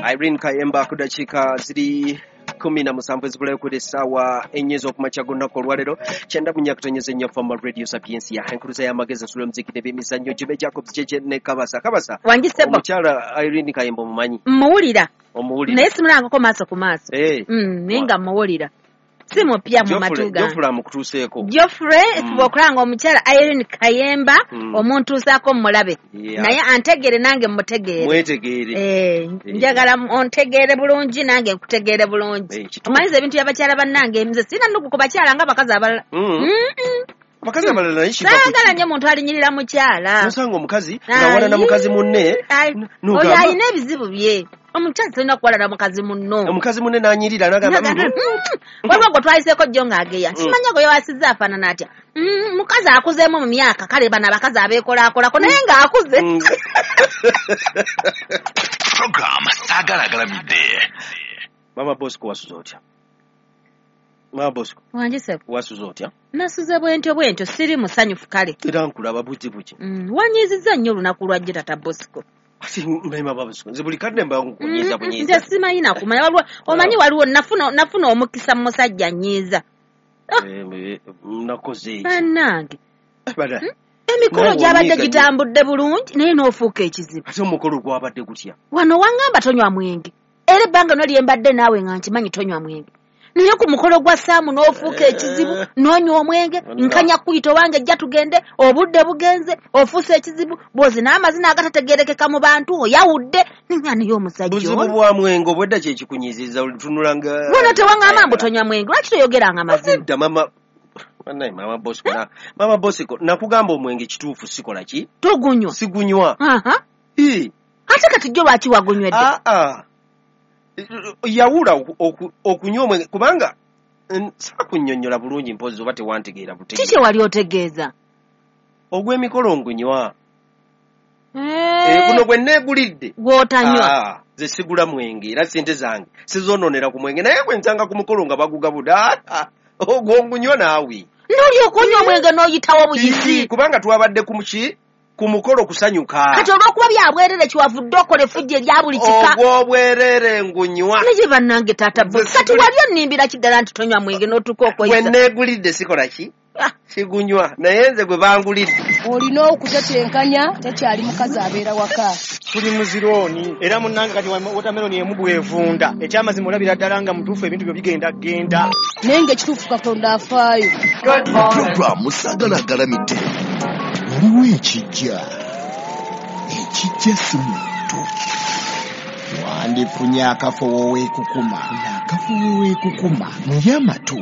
Irene Kayemba ku dakiika ziri 17 ezibulayo ku essaawa 4 ez'okumakya g'olunaku olwaleero 94.4 Fama Radio Sapiensia, enkuluza y'amagezi ensula omuziki n'ebyemizannyo. Jube Jacobs Jeje ne Kabasa. Kabasa, Wangi ssebo. omukyala Irene Kayemba omumanyi? Mmuwulira. Omuwulira? Naye simulangako maaso ku maaso. Eh. Naye nga mmuwulira. Si mupya mu matu gange. Geoffrey amukutuuseeko. Geoffrey, fuba okulanga omukyala Irene Kayemba, omuntuusaako mmulabe. Yeah. Naye antegeere nange mmutegeere. Mwetegeere. Njagala ontegeere bulungi nange nkutegeere bulungi. Kituufu. Omanyiza ebintu by'abakyala bannange, nze sirina nnugu ku bakyala ng'abakazi abalala. Abakazi abalala naye kiva ku Saagala ki? nnyo muntu alinyirira mukyala. Nosanga omukazi ng'awalana mukazi munne, n'ogamba- Oyo alina ebizibu bye. Omukyala tolina kuwalana mukazi munno. Omukazi munne n'anyirira n'agamba, N'agamba, Waliwo gwe twayiseeko jjo ng'ageya. Simanya gwe yawasizza afaanana atya. Mukazi akuzeemu mu myaka, kale bano abakazi abeekolaakolako naye ng'akuze. Program Saagala Agalamidde. Mama Bosco, wasuze otya? Mama Bosco. Wangi ssebo. Wasuze otya? Nasuze bwentyo bwentyo, siri musanyufu kale. Era nkulaba buti buki. Wanyiizizza nnyo olunaku lwa jjo tata Bosco. Ati mama Bosco, nze buli kadde mba nkunyiiza bunyiiza. Nze simanyi nakumanya, waliwo, omanyi waliwo nafuna omukisa mu musajja nnyiiza. Nakoze eki? Bannange. Bada. Emikolo Nawe gyabadde onyiiga nnyo. gitambudde bulungi naye n'ofuuka ekizibu. Ate omukolo gwabadde gutya? Wano wangamba tonywa mwenge. Era ebbanga no lye mbadde naawe nga nkimanyi tonywa mwenge. Naye ku mukolo gwa Saamu n'ofuuka ekizibu, n'onywa omwenge, nkanya kuyita owange ejja tugende, obudde bugenze, ofuuse ekizibu, bw'ozi n'amazina agatategeerekeka mu bantu, oyawudde, ninga naye omusajja Buzibu ono. bwa mwenge obwedda kye kikunyiizizza, otunula nga Wano tewaŋŋamba mbu tonywa mwenge, lwaki toyogeranga mazima? Nedda, mama. Bannaye, Mama Bosco, Mama Bosco, nakugamba omwenge kituufu sikola ki? Togunywa. Sigunywa. Aha. Ii. Ate kati jjo lwaki wagunywedde? Ah, ah. Yawula okunywa omwenge kubanga saakunnyonnyola bulungi mpozzi oba tewantegeera butegeera. Ki kye wali otegeeza? Ogw'emikolo ngunywa. Guno gwe neegulidde. Gw'otanywa. Nze sigula mwenge era ssente zange sizoonoonera ku mwenge, naye bwe nsanga ku mukolo nga bagugabuda, ogwo ngunywa naawe. N'olyoka onywa omwenge n'oyitawo buyisi. Kubanga twabadde ku muki? Ku mukolo kusanyuka. Kati olw'okuba bya bwerere kiwavudde okola effujjo erya buli kika. Ogw'obwerere ngunywa. Naye bannange taata Bosco, Nze kati siguli- wali onnimbira ki ddala nti tonywa mwenge n'otuuka okweyisa? Gwe neegulidde sikola ki? Sigunywa. Naye nze gwe bangulidde. Olina okutetenkanya, tekyali mukazi abeera waka. Tuli mu zirooni era munnange kati watermelon emu bw'evunda. Ekyamazima olabira ddala nga mutuufu ebintu byo bigenda genda. Naye ng'ekituufu Katonda afaayo. Program Saagala Agalamidde. Waliwo ekijja. Ekijja si muntu. Wandifunye akafo weekukuma. Akafo weekukuma. Mulye amatu.